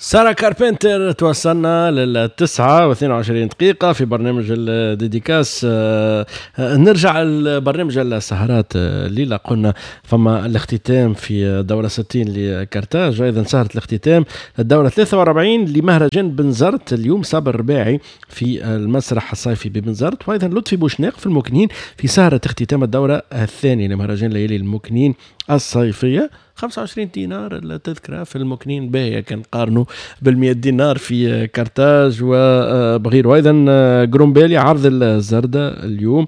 سارة كاربنتر توصلنا 9:22 في برنامج ال dédicace. نرجع لبرنامج السهرات الليلة. قلنا فما الاختتام في دورة 60 لكرتاج، وأيضا سهرة الاختتام الدورة 43 لمهرجان بنزرت اليوم، صابر الرباعي في المسرح الصيفي ببنزرت، وأيضا لطفي بوشناق في المكنين في سهرة اختتام الدورة الثانية لمهرجان ليالي المكنين الصيفية. 25 دينار التذكرة في المكنين، باهية كان قارنوا بال100 دينار في كرتاج وبغيره. أيضا قرمبالية عرض الزردة اليوم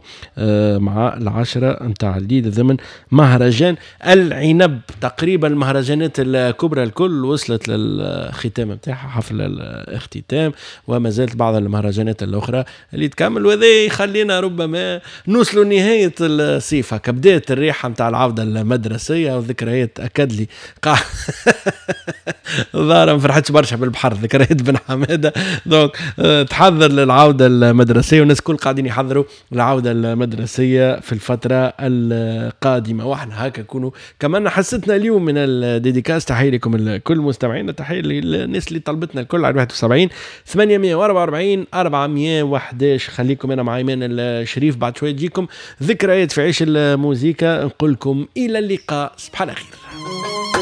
مع 10 متاع الليل ضمن مهرجان العنب. تقريبا المهرجانات الكبرى الكل وصلت للختام متاعها، حفل الاختتام، وما زالت بعض المهرجانات الأخرى اللي تكمل، وهذا يخلينا ربما نوصلوا نهاية الصيف. هكا بدات الريحة متاع العودة المدرسية والذكريات، أكد لي قاع ظاهرة ما فرحتش برشا بالبحر، ذكريات بن حمادة. donc تحضر للعودة المدرسية، والناس الكل قاعدين يحضروا العودة المدرسية في الفترة القادمة. واحنا هكا نكونوا كمان حصتنا اليوم من ال dédicace. تحية لكم الكل مستمعينا، تحية للناس اللي طلبتنا الكل على 71 844 411. خليكم انا مع ايمان الشريف، بعد شوية تجيكم ذكريات في عيش الموزيكا. نقول لكم الى اللقاء، صباح الخير.